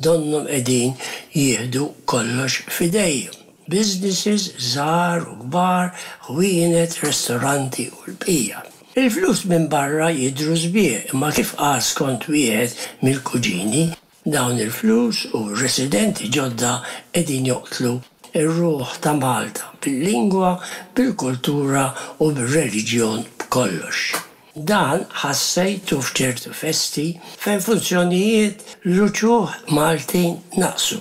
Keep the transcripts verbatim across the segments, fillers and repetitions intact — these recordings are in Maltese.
Donnhom qegħdin jieħdu kollox f'idejhom. Businesses żgħar u kbar, ħwienet, ristoranti u l-bqija. Il-flus minn barra jidhru sbieħ, imma kif qal skont wieħed mill-kuġini, dawn il-flus u residenti ġodda qegħdin joqtlu ir-ruħ ta' Malta bil-lingwa, bil-kultura u bil-reliġjon, b'kollox. Dan ħassejtu f'ċertu festi fejn funzjonijiet l-uċuħ Maltin naqsu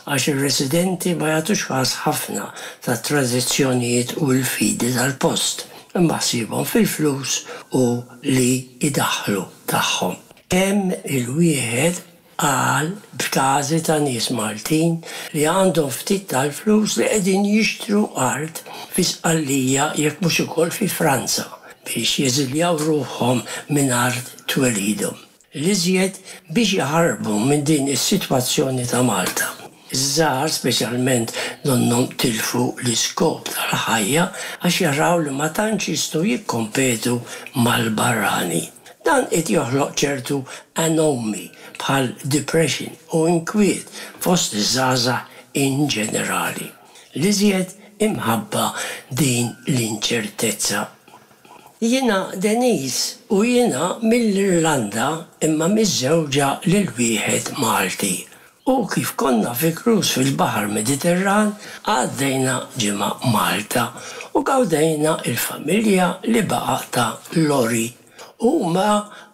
għax ir-residenti ma jagħtux kas ħafna ta' tradizzjonijiet u l-fidi tal-post, imma ħsiebhom fil-flus u li idaħħlu tagħhom. Kemm il-wieħed qal b'każi ta' nies Maltin li għandhom ftit tal-flus li qegħdin jixtru art fi Sqallija, jekk mhux ukoll fi Franza, biex jeżiljaw ruħhom minn art twelidhom. L-iżjed biex jaħarbu minn din is-sitwazzjoni ta' Malta. Iż-żgħar speċjalment donnhom tilfu l-iskop tal-ħajja għax jaraw li ma tantx jistgħu jikkompetu mal-barrani. Dan qed joħloq ċertu anomi bħal depression u inkwiet fost iż-żgħażagħ in ġenerali. L-iżjed imħabba din l-inċertezza. Jiena Denise u jiena mill-Irlanda imma miżżewġa lil wieħed Malti. U kif konna fi cruise fil-Baħar Mediterran, għaddejna ġimgħa Malta u gawdejna il-familja li baqa ta' Lori. Huma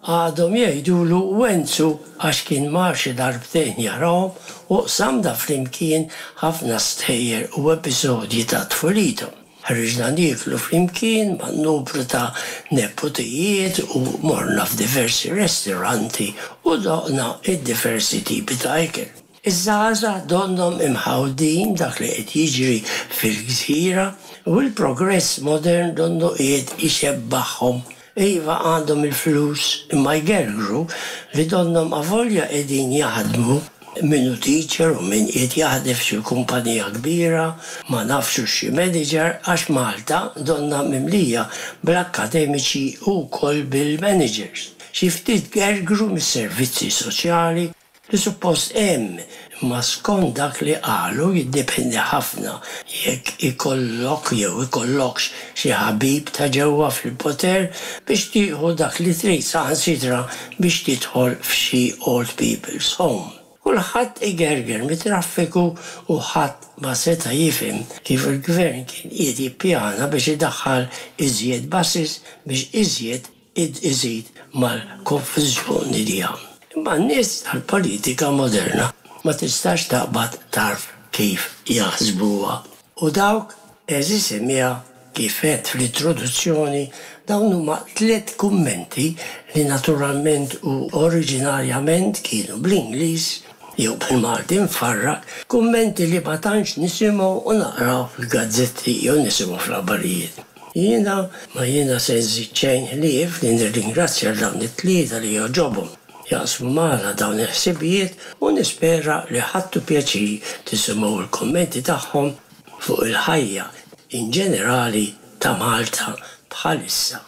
għadhom jgħidulu Wenzu għax kien mar xi darbtejn jarahom u qsamna flimkien ħafna stejjer u episodji ta' tfulithom. Ħriġna nieklu flimkien ma' numru ta' nepotijiet u morna f'diversi ristoranti u doqna id-diversi tipi ta' ikel. Iż-żgħażagħ donnhom imħawdin dak li qed jiġri fil-gżira u l-progress modern donnu qiegħed ixebbaħhom. Iva, għandhom il-flus imma jgergru li donnhom avolja qegħdin jaħdmu, min hu teacher u min qiegħed jaħdem f'xi kumpanija kbira, ma nafx xi manager, għax Malta donna mimlija bl-akkademiċi u wkoll bil-managers. Xi ftit gergru mis-servizzi soċjali li suppost hemm, imma skont dak li qalu jiddependi ħafna jekk ikollok jew ikollokx xi ħabib ta' ġewwa fil-poter biex tieħu dak li trid, saħansitra biex tidħol f'xi old people's home. Kulħadd igerger mit-traffiku u ħadd ma seta' jifhem kif il-gvern kien qiegħed jippjana biex idaħħal iżjed buses biex iżjed iżid mal-konfużjoni li hemm. Imma n-nies tal-politika moderna ma tistax taqbad tarf kif jaħsbuha. U dawk, għeżież semmiegħa, kif għedt fl-introduzzjoni, dawn huma tliet kummenti li naturalment u oriġinarjament kienu bl-Ingliż jew bil-Malti mfarrak, kummenti li ma tantx nisimgħu u naqraw fil-gazzetti jew nisimgħu fl-aħbarijiet. Jiena ma jiena se nżid xejn ħlief li nirringrazzja dawn it-tlieta li jogħġobhom jaqsmu magħna dawn il-ħsibijiet u nispera li ħadtu pjaċir tisimgħu l-kommenti tagħhom fuq il-ħajja in ġenerali ta' Malta bħalissa.